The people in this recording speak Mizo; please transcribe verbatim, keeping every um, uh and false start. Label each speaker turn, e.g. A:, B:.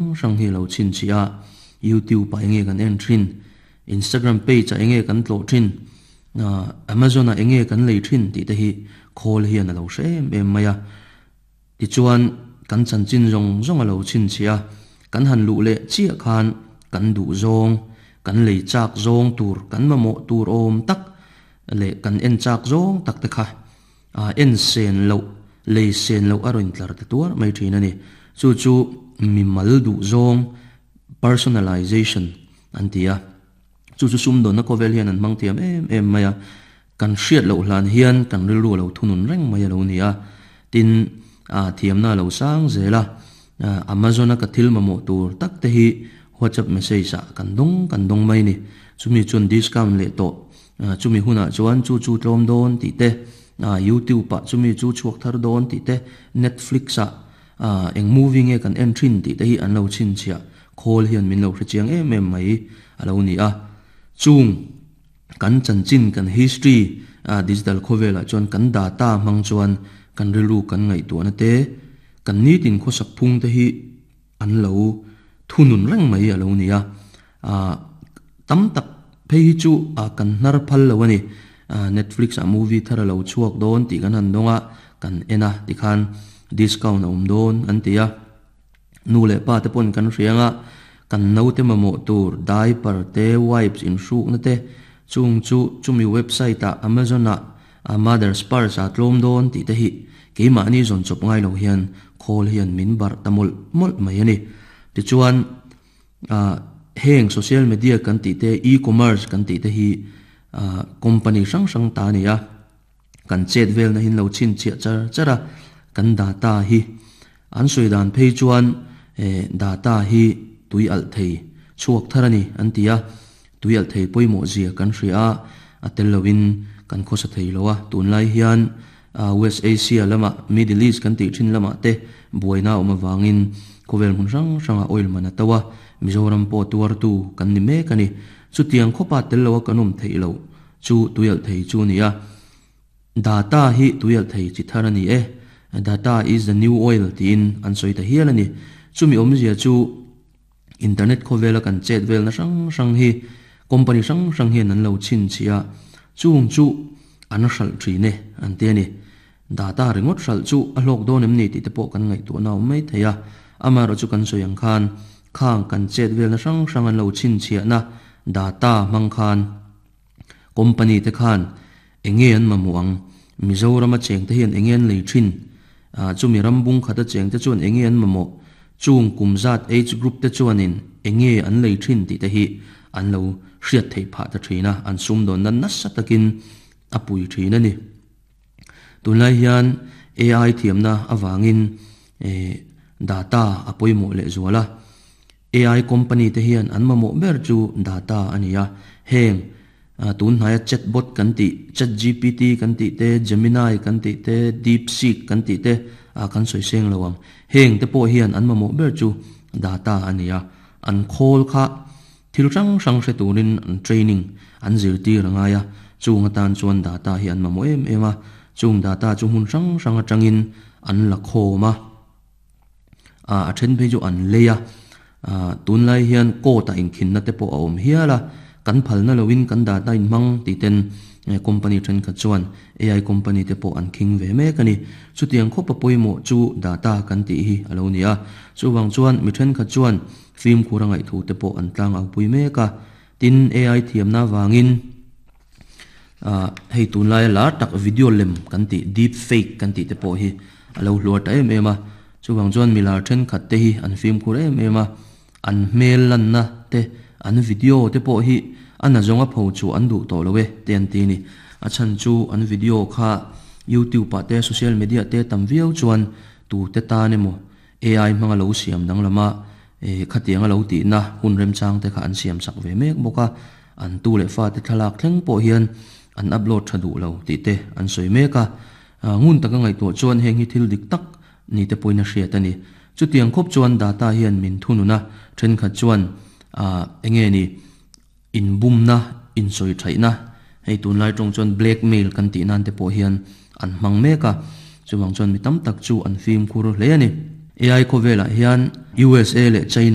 A: hrang hi lo chin chi a YouTube a enge kan en thin Instagram page a enge kan tlo thin Amazon a enge kan lei thin ti te hi khawl hian a lo hre em em mai a tichuan kan chanchin zawng zawng a lo chin chi a kan han luh leh chiah khan kan duh zawng kan lei chak zawng tur kan mamawh tur awm tak leh kan en chak zawng tak te kha a en sen lo lei sen lo a rawn tlar te tuar mai thin ani chu chu mi mal duh zawng personalization an ti a chu chu sum dawn na khawvel hian an hmang thiam em em mai a kan hriat loh hlan hian kan rilru lo thunun reng mai a lo ni a tin a thiamna lo sang zela Amazon a ka thil mamawh tur tak te hi WhatsApp message ah kan dawng kan dawng mai ni chumi chuan discount leh tawh chumi hunah chuan chu chu tlawm dawn tih te YouTube ah chumi chu chhuak thar dawn tih te Netflix ah eng movie nge kan en thin tih te hi an lo chin chhiah khawl hian min lo hre chiang em em mai a lo ni a chung kan chanchin kan history digital khawvelah chuan kan data hmang chuan kan rilru kan ngaihtuahna te kan nitin khawsak phung te hi an lo thunun reng mai a lo ni a tam tak phei hi chu kan hnar phal lo ani Netflix a movie thar a lo chhuak dawn tih kan han dawnga kan en a tikhan discount a awm dawn an ti a nu leh pa te pawn kan hrianga kan naute mamawh tur diaper te wipes in hrukna te chung chu chumi website ah Amazon ah Mother's Purse a tlawm dawn tih te hi keimahni zawn chawp ngai lo hian khawl hian min barh ta mawlh mawlh mai ani tichuan heng social media kan tih te e-commerce kan tih te hi company hrang hrang ta ani a kan chet vel na hin lo chin chiah char char a kan data hi an sawi dan phei chuan data hi tui alh thei chhuak thar ani an ti a tui alh thei pawimawh zia kan hria a tel lovin kan khawsa thei lo a tunlai hian West Asia lama Middle East kan tih thin lamah te buaina awm awangin khawvel hmun hrang hranga oil man a to a Mizoram pawh tuartu kan ni mek ani chutiang khawpa tel lo a kan awm theih lo chu tui alh thei chu ani a data hi tui alh thei chi thar ani e data is the new oil tiin an sawi ta hial ani chumi awmzia chu internet khawvela kan chet vel na hrang hrang hi company hrang hrang hian an lo chin chi a chung chu an hralh thin e an ti ani data ringawt hralh chu a hlawk dawn em ni tih te pawh kan ngaihtuah na awm mai thei a amaherawh chu kan sawi ang khan khang kan chet vel na hrang hrang an lo chin chhiah na data hmang khan company te khan enge an mamawh ang Mizoram a cheng te hian enge an lei thin chumi rambung khat a cheng te chuan enge an mamawh chung kumzat age group te chuanin enge an lei thin tih te hi an lo hriat theih phah ta thin a an sum dawn nan nasa takin a pui thin ani tunlai hian A I thiamna awangin data a pawimawh leh zuala A I company te hian an mamawh ber chu data ani a heng tun hnaia chatbot kan tih chat G P T kan tih te Gemini kan tih te DeepSeek kan tih te kan sawi seng lo ang heng te pawh hian an mamawh ber chu data ani a an khawl kha thil hrang hrang hre turin an training an zirtir angai a chung atan chuan data hi an mamawh em em a chung data chu hmun hrang hrang atangin an la khawm a a then phei chu an lei a tunlai hian court a inkhinna te pawh a awm hial a kan phalna lovin kan data in hmang ti ten company then khat chuan A I company te pawh an khing ve mek ani chutiang khawpa pawimawh chu data kan tih hi a lo ni a chuwang chuan mi then khat chuan film khur a ngaih thu te pawh an tlang au pui mek a tin A I thiamna wangin hei tunlai la tak video lem kan tih deep fake kan tih te pawh hi a lo hluar ta em em a chuwang chuan milar then khat te hi an film khur em em a an hmel lan na te an video te pawh hi an a zawnga pho chu an duh tawh lo e te an ti ni a chan chu an video kha YouTube ah te social media te tam viau chuan tu te ta nemo A I hmanga lo siam dang lama e khatianga lo ti na hun rem chang te kha an siam sak ve mek bawk a an tu leh fa te thlalak thleng pawh hian an upload tha duh lo tih te an sawi mek a ngun taka ngaihtuah chuan heng hi thil dik tak ni te pawhin a hriat ani chutiang khawp chuan data hian min thununa thenkhat chuan enge ni inbumna insawi thaihna hei tunlai tawng chuan blackmail kan tih nan te pawh hian an hmang mek a chuwang chuan mi tam tak chu an film khur hle ani A I khawvelah hian U S A leh China